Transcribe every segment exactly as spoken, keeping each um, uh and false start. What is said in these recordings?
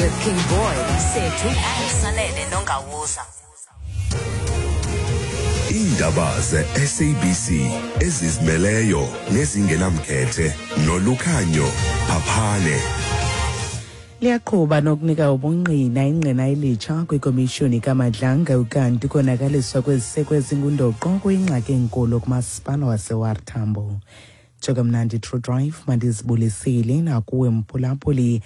The King Boy, Sethu Sanele Nongawuza. Iindaba ze-S A B C ezizimeleyo nezingenamkhethe noLukhanyo Phaphane. Liyaqhuba nokunika ubungqina ingqina elitsha kwikomishoni kaMadlanga, ukanti ukonakaliswa kweziseko ezingundoqo kuyingxaki enkulu kumasipala wase-O R Tambo. Njokamnandi True Drive, mandizibulisile nakuwe mphulaphuli.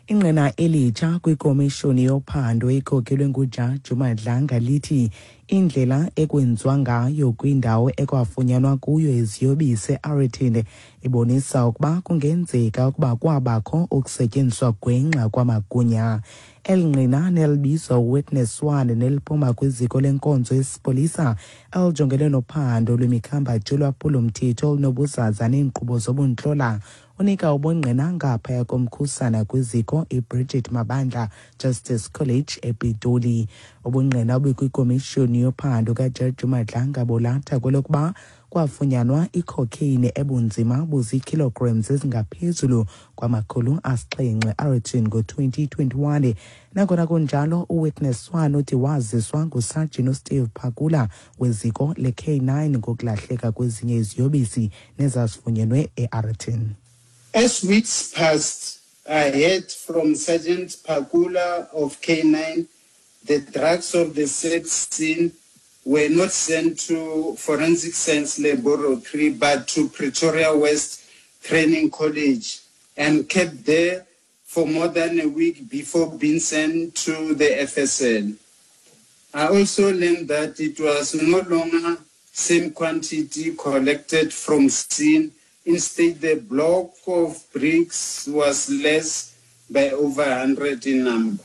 Ingqina elitsha kwikomishoni yophando ekhokelwe ngujaji uMadlanga lithi indlela ekwenziwa ngayo kwindawo ekwafunyanwa kuyo iziyobisi e-Aeroton ibonisa ukuba kungenzeka ukuba kwabakho ukusetyenziswa gwenxa kwamagunya. Eli ngqina, nelibizwa Witness One, neliphuma kwiziko lenkonzo yesipolisa elijongene nophando lwemikhambathi yolwaphulomthetho olunobuzaza neenkqubo zobuntlola, unika ubungqina ngaphaya komkhusana kwiziko iBridget Mabandla Justice College ePitoli. Ubungqina obukwikomishoni yophando kajaji Madlanga bolatha kwelokuba kwafunyanwa icocaine ebunzima buzii-kilograms ezingaphezulu kwamakhulu asixhenxe Aeroton ngo-twenty twenty-one. Nangona kunjalo, uWitness One uthi waziswa ngusajini uSteve Phakula weziko le-K nine ngokulahleka kwezinye iziyobisi nezazifunyenwe e-Aeroton. As weeks passed, I heard from Sergeant Pakula of K nine the drugs of the said scene were not sent to Forensic Science Laboratory but to Pretoria West Training College and kept there for more than a week before being sent to the F S L. I also learned that it was no longer same quantity collected from scene. Instead, the block of bricks was less by over one hundred in number.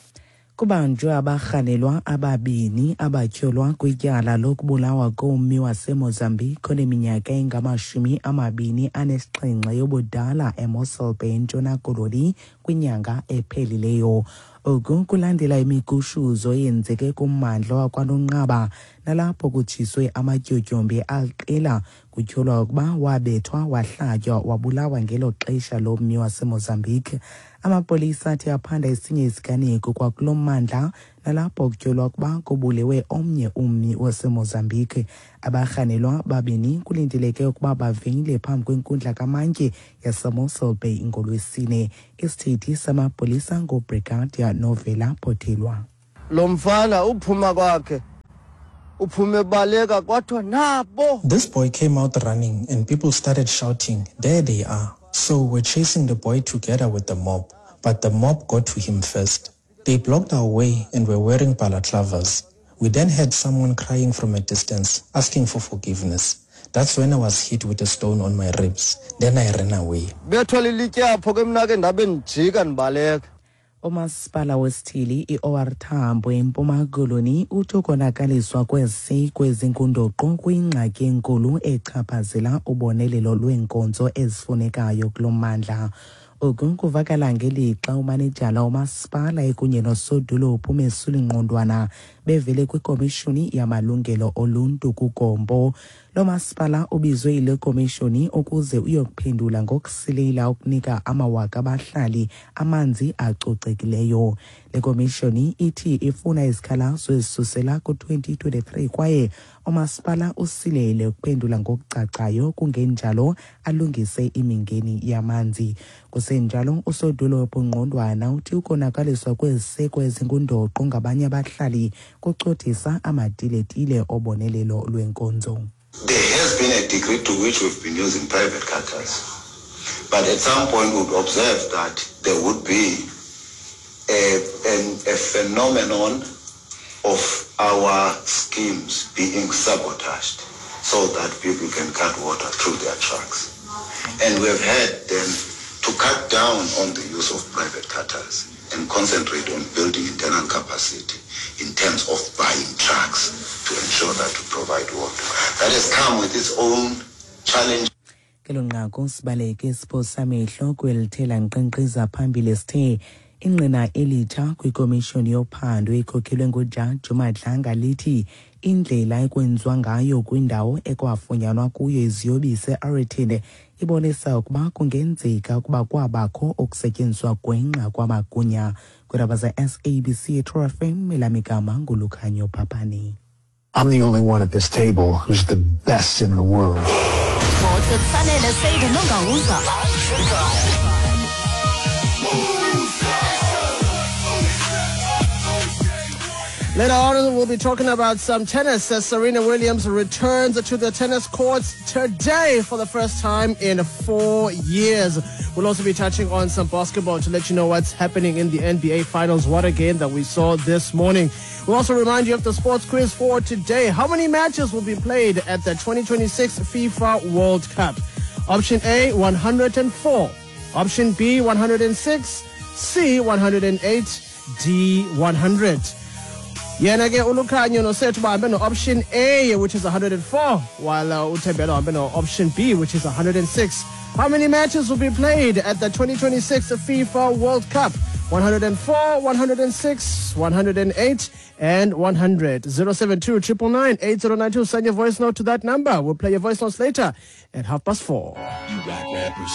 Kubanjwe abarhanelwa ababini abatyholwa kwityala lokubulawa kommi waseMozambique oneminyaka engamashumi amabini anesixhenxe yobudala eMossel Bay, eNtshona Koloni, kwinyanga ephelileyo. Oku kulandela imigushuzo eyenzeke kummandla wakwaNonqaba nalapho kutshiswe amatyotyombe aliqela. Kutyholwa ukuba wabethwa, wahlatywa, wabulawa ngelo xesha lo mmi waseMozambique. Amapolisa athi aphanda esinye isiganeko kwakulo mmandla nalapho kutyholwa ukuba kubulewe omnye ummi waseMozambique. Abarhanelwa babini kulindeleke ukuba bavele phambi kwenkundla kamantyi yaseMossel Bay ngoLwesine. Isithethi samapolisa nguBrigadier Novela Potelwa. Lo mfana uphuma kwakhe uphume baleka, kwathiwa nabo. This boy came out running and people started shouting, "There they are." So we're chasing the boy together with the mob, but the mob got to him first. They blocked our way and were wearing balaclavas. We then heard someone crying from a distance, asking for forgiveness. That's when I was hit with a stone on my ribs. Then I ran away. Bethwa lilitye apho ke, mna ke ndabe ndijika ndibaleka. Umasipala wesithili i-O R Tambo eMpuma Koloni uthi ukonakaliswa kweziseko ezingundoqo kuyingxaki enkulu echaphazela ubonelelo lweenkonzo ezifunekayo kulo mmandla. Oku kuvakala ngelixa umanejala womasipala ekunye nosodolophu uMesuli Ngqondwana bevele kwikomishoni yamalungelo oluntu kuGompo. Lo masipala ubizwe yile komishoni ukuze uyokuphendula ngokusilela ukunika amawaka abahlali amanzi acocekileyo. Le komishoni ithi ifuna izikhalazo ezisusela ku-twenty twenty-three kwaye umasipala usilele ukuphendula ngokucacayo, kungenjalo alungise imingeni yamanzi. Kusenjalo, usodolophu Ngqondwana uthi ukonakaliswa kweziseko ezingundoqo ngabanye abahlali kucothisa amatiletile obonelelo lwenkonzo. There has been a degree to which we've been using private cutters. But at some point we would observe that there would be a, an, a phenomenon of our schemes being sabotaged so that people can cut water through their trucks. And we've had then to cut down on the use of private cutters and concentrate on building internal capacity in terms of buying trucks to ensure that we provide water. That has come with its own challenge. Kelo nqaku sibaleke siphosa amehlo kwelithela nkqenkqeza phambili. Sithe ingqina elitsha kwikomishoni yophando ekhokhelwe ngujaji uMadlanga lithi indlela ekwenziwa ngayo kwindawo ekwafunyanwa kuyo iziyobisi eAeroton ibonisa ukuba kungenzeka ukuba kwabakho ukusetyenziswa gwenxa kwamagunya. Kwiindaba ze-S A B C True F M, elamigama nguLukhanyo Papani. I'm the only one at this table who's the best in the world. Sports with Sanele Seydu Nongawuza. Later on, we'll be talking about some tennis as Serena Williams returns to the tennis courts today for the first time in four years. We'll also be touching on some basketball to let you know what's happening in the N B A Finals. What a game that we saw this morning. We'll also remind you of the sports quiz for today. How many matches will be played at the twenty twenty-six FIFA World Cup? Option A, one hundred four. Option B, one hundred six. C, one hundred eight. D, one hundred. Yena ke uLukhanyo noSethu bahambe no-option A, which is one hundred four, while uh, uThembela uhambe no-option B, which is one hundred six. How many matches will be played at the twenty twenty-six FIFA World Cup? one hundred four, one hundred six, one hundred eight and one hundred. zero seven two nine nine nine eight zero nine two. Send your voice note to that number. We'll play your voice notes later at half past four. You got rappers.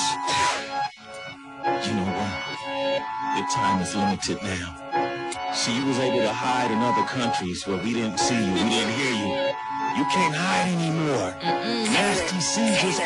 You know what? Your time is limited now. See, you was able to hide in other countries where we didn't see you, we didn't hear you. You can't hide anymore. Nasty C just